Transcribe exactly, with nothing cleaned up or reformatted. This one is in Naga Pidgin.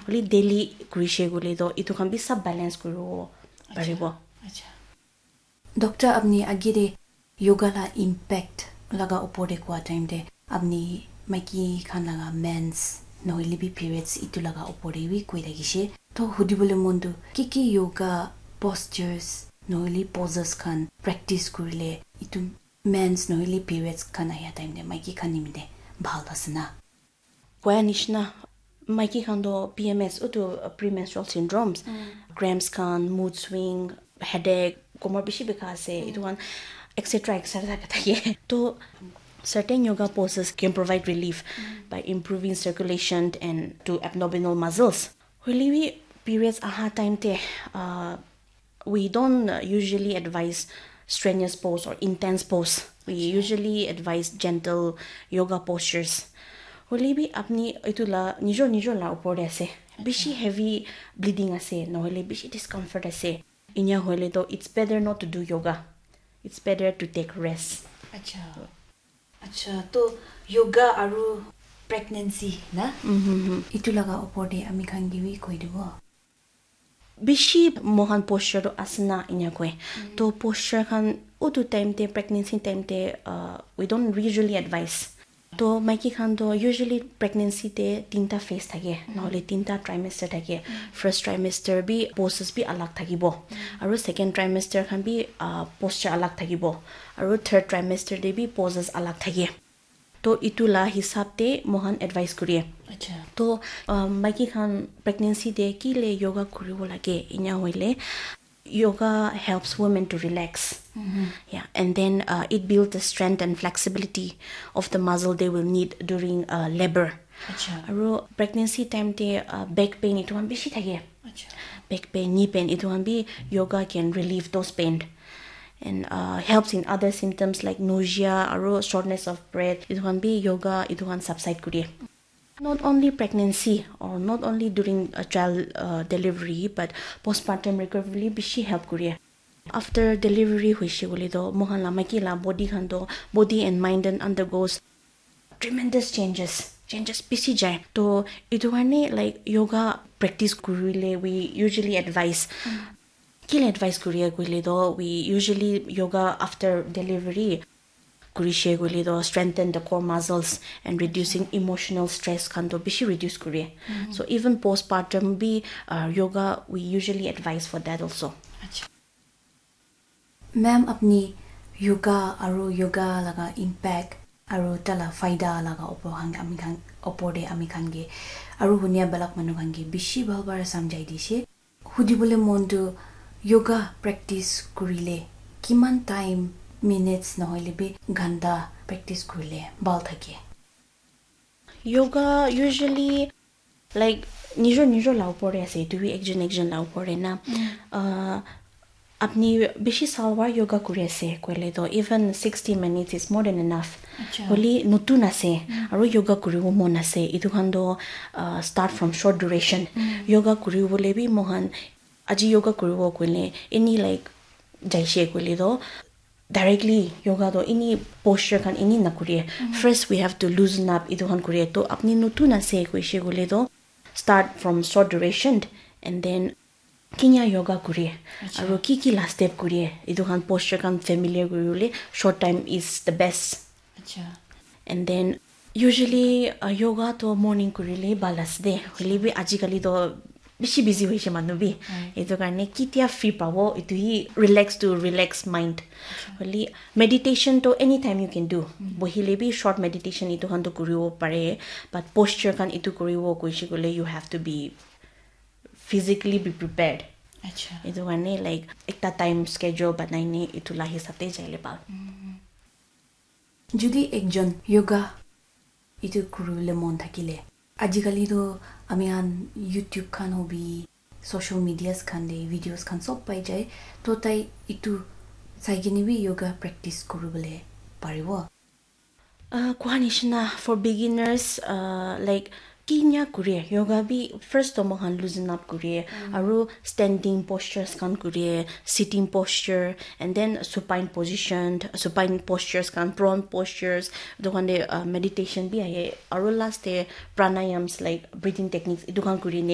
Hoile daily kurishe koile toh etu khan bi sab balance kuribo paribo. Acha. Doctor, apni age te yoga la impact laga upor te kua time te apni maiki khan laga mens nohoile bi periods itu laga upor te bi koi thakishe. To hudibole mon tu ki ki yoga postures nohoile poses khan practice kurile itu mens nohoile periods khan ahia time te maiki khan nimite bhal ase na? Koya nishina, maiki khan toh P M S, utu premenstrual syndromes, cramps khan, mood swing, headache, komor bishi bikha ase, etu khan, et cetera, et cetera thake. To certain yoga poses can provide relief by improving circulation and to abdominal muscles. Hoile bi periods aha time te, uh, we don't uh, usually advise strenuous pose or intense pose. We usually advise gentle yoga postures. Hoile bi apni etu la nijor nijor la upor te ase. Bishi heavy bleeding ase, nohoile bishi discomfort ase. Inya hoile toh it's better not to do yoga. It's better to take rest. Acha. Acha, to yoga aru pregnancy na? Itu laga upor te ami khan ke bi koi dibo. Bishi mohan posture tu asana inya koi. To posture khan utu time te, pregnancy time te, uh, we don't usually advise. To maiki khan to usually pregnancy te tinta phase thake, nohole tinta trimester thake. First trimester bi poses bi alag thakibo. Aru second trimester khan bi, uh, posture alag thakibo. Aru third trimester te bi poses alag thake. To itu la hisab te mohan advice kuriye. Acha. To, um, maiki khan pregnancy te ki le yoga kuribo lage, inya hoile yoga helps women to relax. Yeah, and then uh, it builds the strength and flexibility of the muscle they will need during uh, labor. Acha. Aru pregnancy time te uh, back pain itu khan bishi thake. Acha. Back pain, knee pain itu khan bi yoga can relieve those pain. And uh, helps in other symptoms like nausea, aru shortness of breath. Itu khan bi yoga itu khan subside kuriye. Not only pregnancy or not only during a child uh, delivery, but postpartum recovery bishi help kuriye. After delivery hoishe koile toh mohan la maiki la body khan toh, body and mind and undergoes tremendous changes. Changes bishi jai. To itu karne like yoga practice kurile we usually advise. Kile advice kuriye koile toh, we usually yoga after delivery kurishe koile toh strengthen the core muscles and reducing emotional stress khan toh bishi reduce kuriye. So even postpartum bi uh, yoga we usually advise for that also. Acha. Ma'am, apni yoga aru yoga laga impact aru tala faida laga opor khan ami khan opor de ami khan ke aru hunia balak manu khan ke bishi bhal para samjhai dishe. Hudibole mon tu yoga practice kurile kiman time, minutes nohoile bi ghanta practice kurile bhal thake? Yoga usually like nijor nijor la upor te ase, itu bi ekjon ekjon la upor te na. Uh, apni bishi salwar yoga kuri ase koile toh even sixty minutes is more than enough. Acha. Hoile notun ase aru yoga kuribo mon ase, itu khan toh uh, start from short duration. Yoga kuribole bi mohan aji yoga kuribo koile any like jaise koile toh directly yoga toh any posture khan any nakuriye. First we have to loosen up, itu khan kuriye. To apni notun ase koise koile toh start from short duration and then kinya yoga kuriye. Aru ki ki la step kuriye, itu khan posture khan familiar kuribole short time is the best. Acha. And then usually uh, yoga to morning kurile bhal ase de. Hoile bi ajikali to bishi busy hoise manu bi. Etu karne kitia free pabo, etu hi relax to relax mind. Hoile meditation to anytime you can do. Bohile bi short meditation etu khan to kuribo pare, but posture khan etu kuribo koise koile you have to be physically be prepared. Acha. Etu karne like ekta time schedule banai ne etu la hisab te jaile bhal. Jodi ekjon yoga etu kuribole mon thakile, ajikali toh ami khan YouTube khan hobi, social medias khan te videos khan sob pai jai, toh tai etu sai kene bi yoga practice kuribole paribo. Uh, kua nishina for beginners, uh, like kinya kuriye yoga bi first to mohan loosen up kuriye aru standing postures khan kuriye, sitting posture and then supine position, supine postures khan, prone postures, etu khan te uh, meditation bi ahe aru last te pranayams like breathing techniques etu khan kuri ne